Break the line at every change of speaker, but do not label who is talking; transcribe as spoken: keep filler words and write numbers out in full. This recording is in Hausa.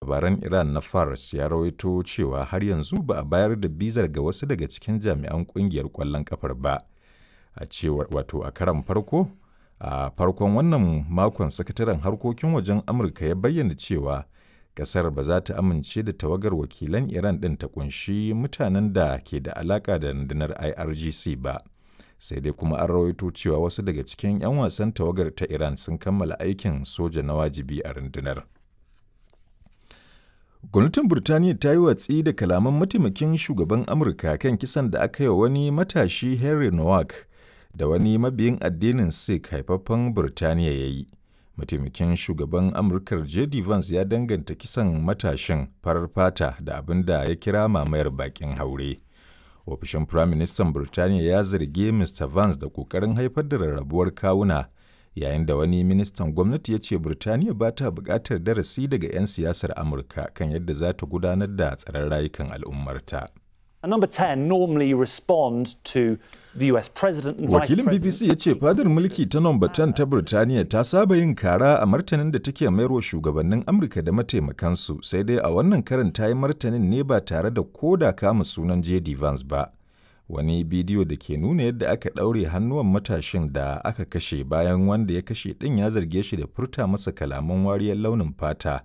labaran Iran na Fars ya rawaito cewa har yanzu ba a bayar da bizar ga wasu daga cikin jami'an kungiyar ƙwallon kafar ba. A cewar wato a karan farko a farkon wannan makon sakataren harkokin wajen Amurka ya bayyana cewa kasar ba za ta amince da tawagar wakilan Iran ɗin ta kunshi mutanen da ke da alaka da rundunar I R G C ba. Sai dai kuma an rawaito cewa wasu daga cikin 'yan wasan tawagar ta Iran sun kammala aikin soja na wajibi a rundunar. Gwamnatin Burtaniya ta yi watsi da kalaman mataimakin shugaban Amurka kan kisan da aka yi wa wani matashi Henry Nowak da wani mabiyin addinin Sikh haifaffen Burtaniya ya yi. Mataimakin shugaban Amurkar J D Vance ya danganta kisan matashin farar fata da abin da ya kira mamayar bakin haure. Ofishin Firaministan Burtaniya ya zargi Mister Vance da ƙoƙarin haifar da rarrabuwar kawuna, yayin da wani ministan gwamnati ya ce Burtaniya ba ta buƙatar darasi daga 'yan siyasar Amurka kan yadda za ta gudanar da tsaron rayukan al'ummarta.
And number ten normally respond to the U S president and vice
Wakilin
president.
B B C ya ce fadar mulki ta Number ten ta Burtaniya ta saba yin kara a martanin da take mayarwa shugabannin Amurka da mataimakansu, sai dai a wannan karin ta yi martanin ne ba tare da koda kama sunan J D Vance ba. Wani bidiyo da ke nuna yadda aka ɗaure hannuwan matashin da aka kashe bayan wanda ya kashe ɗin ya zarge shi da furta masa kalaman wariyar launin fata.